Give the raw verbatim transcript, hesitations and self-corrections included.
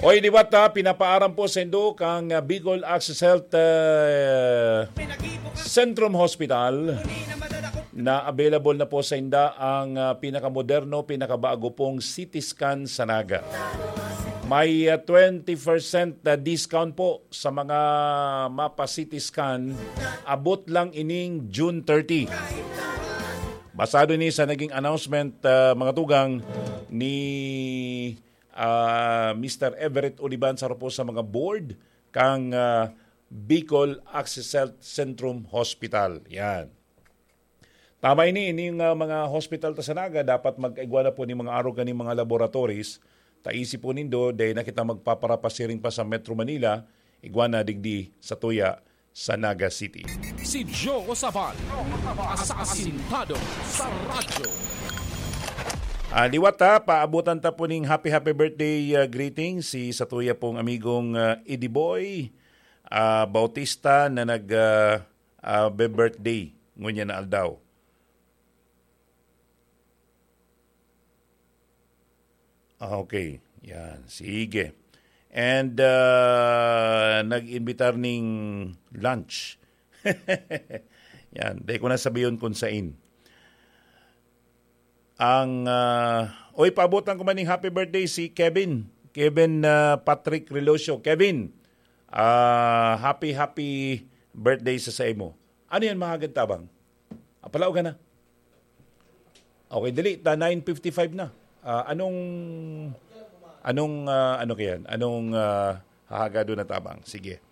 Oy, liwat ha, pinapaaram po sa indo kang, ah, Bicol Access Health, ah, Centrum Hospital na available na po sa inda ang, ah, pinakamoderno, pinakabago pong C T scan sa Naga. May, ah, twenty percent na discount po sa mga mapa-C T scan. Abot lang ining June thirty. Basado ni sa naging announcement, ah, mga tugang, ni, ah, Mister Everett Olivan, saro po sa mga board kang, ah, Bicol Access Health Centrum Hospital. Yan. Tama ini, ining, ah, mga hospital ta sa Naga, dapat mag-igwa na po ni mga arog kaning mga laboratories. Ta isipon nindo, dai na kita magpaparapasiring pa sa Metro Manila, igwa na digdi sa tuya sa Naga City. Si Joe Sabal, asasintado sa radyo. Ah, liwat ha, paabutan ta po ning happy, happy birthday, ah, greeting si sa tuya pong amigong, ah, Eddie Boy, ah, Bautista na nag, ah, ah, be-birthday ngunyan na aldaw. Ah, okay. Yan. Sige. And, ah, nag-imbitar ning lunch. Yan. Dai ko na sabihon kung sain. Ang, ah, oy, paabutan ko man ning happy birthday si Kevin. Kevin, ah, Patrick Relocio. Kevin, ah, happy, happy birthday sa saimo. Ano yan, mahagad tabang? Ah, palaogan na. Okay, dali. Ta nine fifty-five na. Ah, anong, anong, ah, ano kayan? Anong, ah, hahagadon na tabang? Sige.